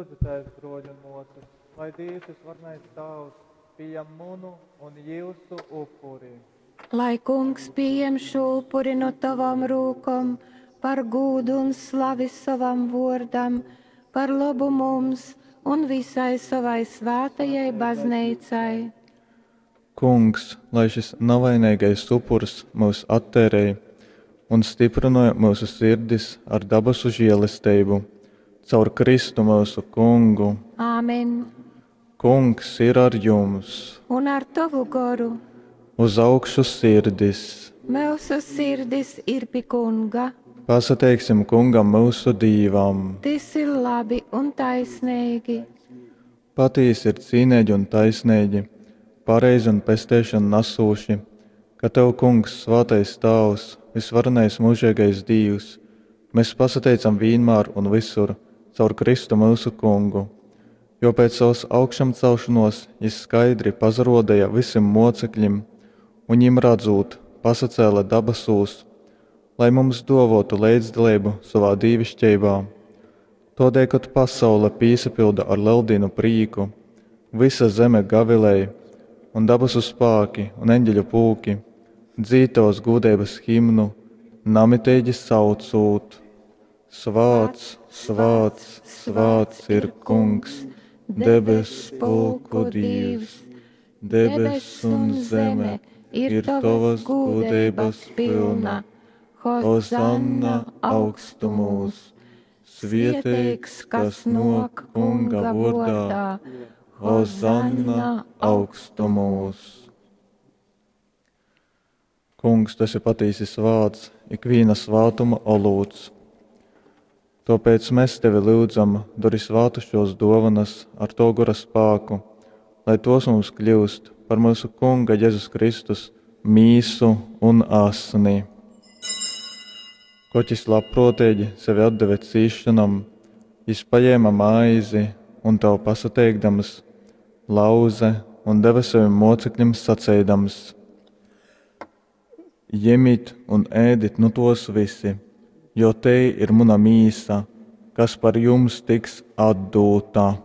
Lyudzitēs, bruoļi un muosys, lai Dīvs Vysvarenais Tāvs pījam munu un jiusu upuri. Lai Kungs pījem šū upuri nu tovom rūkom par gūdu un slavi sovam vuordam, par lobu mums un visai sovai svātajai Bazneicai. Kungs, lai šys navaineigais upurs myus atteirej un styprynoj myusu sirdis ar dabasu želesteibu. Caur Kristu myusu Kungu. Āmen. Kungs ir ar jums! Un ar tovu goru. Uz augšu sirdis! Myusu sirdis ir pi Kunga. Pasateiksim Kungam myusu Dīvam! Tys ir labi un taisneigi. Patīsi ir cīneigi un taisneigi, pareizi un pesteišonu nasūši, ka tev, Kungs, svātais Tāvs, vysvarenais myužeigais Dīvs, mes pasateicam vīnmār un vysur caur Kristu myusu Kungu. Jo pēc savas augšamcelšonōs jys skaidri pasarōdeja vysim mōceklim un, jim radzūt, pasacēle dabasūs, lai mums dōvōtu leidzdaleibu sovā dīviškeibā. Tōdēļ, kod pasaule pīsapylda ar Leldīnu prīku, vysa zeme gavilej, un dabasu spāki un eņģeļu pulki dzīd tovas gūdeibas himnu, namiteigi saucūt: Svāts, svāts, svāts ir Kungs, debess pulku Dīvs, debess un zeme ir tovas gūdeibas pylna. Hozanna augstumūs! Svieteigs, kas nōk Kunga vōrdā, Hozanna augstumūs! Kungs, tu esi patīsi svāts, ikvīna svātuma olūts. Tōpēc mēs tevi lyudzam, dori svātu šos dōvanas ar to gora spāku, lai tos mums kļūst par myusu Kunga Jezus Kristus mīsu un asni. Kod jys labprōteigi sevi atdeve cīsšonom, jys pajēma maizi un tev pasateikdams, lauze un deve savim mōcekļim saceidams: Jemit un ēdit nu tos visi, jo tei ir muna mīsa, kas par jums tiks atdūta.